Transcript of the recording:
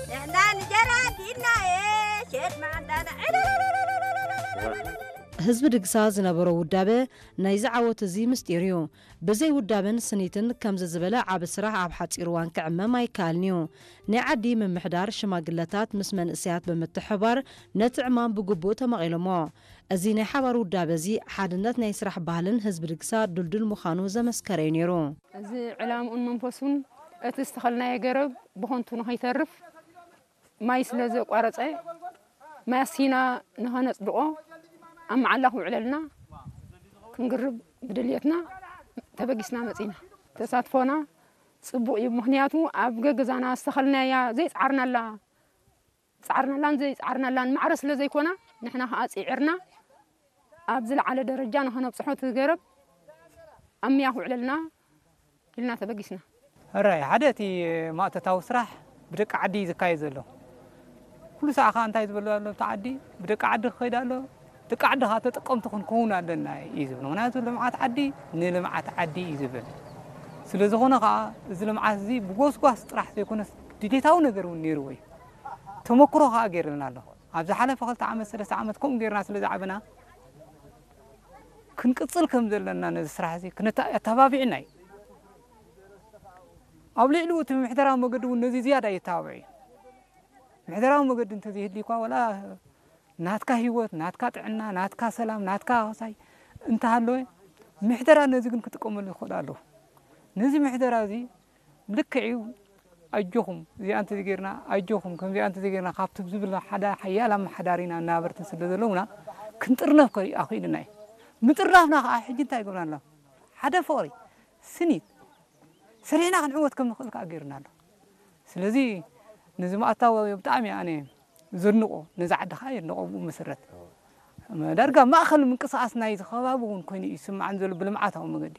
ንሕና እንጀራ ዲና ሸጥ ማዕዳና ህዝቢ ድግሳ ዝነበሮ ውዳበ ናይዚ ዓወት እዚ ምስጢር እዩ። ብዘይ ውዳበን ስኒትን ከምዚ ዝበለ ዓቢ ስራሕ ኣብ ሓጺር እዋን ክዕመም ኣይከኣልን እዩ። ናይ ዓዲ ምምሕዳር ሽማግለታት ምስ መንእሰያት ብምትሕባር ነቲ ዕማም ብግቡእ ተማቒሎሞ። እዚ ናይ ሓባር ውዳበ እዚ ሓድነት ናይ ስራሕ ባህልን ህዝቢ ድግሳ ድልዱል ምዃኑ ዘመስከረ እዩ ነይሩ። እዚ ዕላምኡን መንፈሱን እቲ ዝተኸልናዮ ገረብ ብኸንቱ ንኸይተርፍ ማይ ስለ ዘቋረጸ ማሲና ንኸነጽድቖ ኣብ መዓላ ክውዕለልና ክንግርብ ብድልየትና ተበጊስና መጺና። ተሳትፎና ጽቡቕ እዩ። ምኽንያቱ ኣብ ገገዛና ዝተኸልናያ ዘይጸዓርናላ ጸዓርናላን ዘይጸዓርናላን ማዕረ ስለ ዘይኮና ንሕና ከኣ ጽዒርና ኣብ ዝለዓለ ደረጃ ንኸነብጽሖ እቲ ገረብ ኣብ ምያ ክውዕለልና ኢልና ተበጊስና። ሕራይ ሓደ እቲ ማእቶታዊ ስራሕ ብደቂ ዓዲ እዩ ዝካየድ ዘሎ። ኩሉ ሰዓ ከዓ እንታይ ዝበሉ ኣሎ ኣብቲ ዓዲ ብደቂ ዓዲ ክኸይድ ኣሎ። ደቂ ዓዲ ከዓ ተጠቀምቲ ክንከውን ኣለና እዩ ዝብል። ምክንያቱ ልምዓት ዓዲ ንልምዓት ዓዲ እዩ ዝብል። ስለ ዝኾነ ከዓ እዚ ልምዓት እዚ ብጎስጓስ ጥራሕ ዘይኮነስ ድሌታዊ ነገር እውን ነይርዎ እዩ። ተመክሮ ከዓ ገይርልና ኣሎ። ኣብ ዝሓለፈ ክልተ ዓመት ሰለስተ ዓመት ከምኡ ገይርና ስለ ዝዓበና ክንቅፅል ከም ዘለና ነዚ ስራሕ እዚ ክነተኣባቢዕና እዩ። ኣብ ልዕሊኡ እቲ ምሕደራዊ መገዲ እውን ነዚ ዝያዳ የተባብዕ እዩ። ምሕደራዊ መገዲ እንተዘይህልዩ እኳ ወላ ናትካ ህይወት፣ ናትካ ጥዕና፣ ናትካ ሰላም፣ ናትካ ሆሳይ እንተሃለወ ምሕደራ ነዚ ግን ክጥቀመሉ ይኽእል ኣለዎ። ነዚ ምሕደራ እዚ ልክዕ እዩ ኣጆኹም እዚኣ እንተዘይጌርና ኣጆኹም ከምዚኣ እንተዘይጌርና ካብቲ ዝብል ሓደ ሓያል ኣመሓዳሪና እናበርትን ስለ ዘለውና ክንጥርነፍ ከ ኣኽኢሉና እዩ። ምጥርናፍና ከዓ ሕጂ እንታይ ይገብርና ኣሎ? ሓደ ፍቕሪ ስኒት ሰሪሕና ክንዕወት ከም ንኽእል ከዓ ገይሩና ኣሎ። ስለዚ ነዚ ማእታዊ ብጣዕሚ ኣነ ዘድንቆ ነዚ ዓዲ ከዓ የድንቆ ብኡ መሰረት ዳርጋ ማእኸል ምንቅስቃስ ናይ ከባቢ እውን ኮይኑ እዩ ዝስምዓን ዘሎ ብልምዓታዊ መገዲ።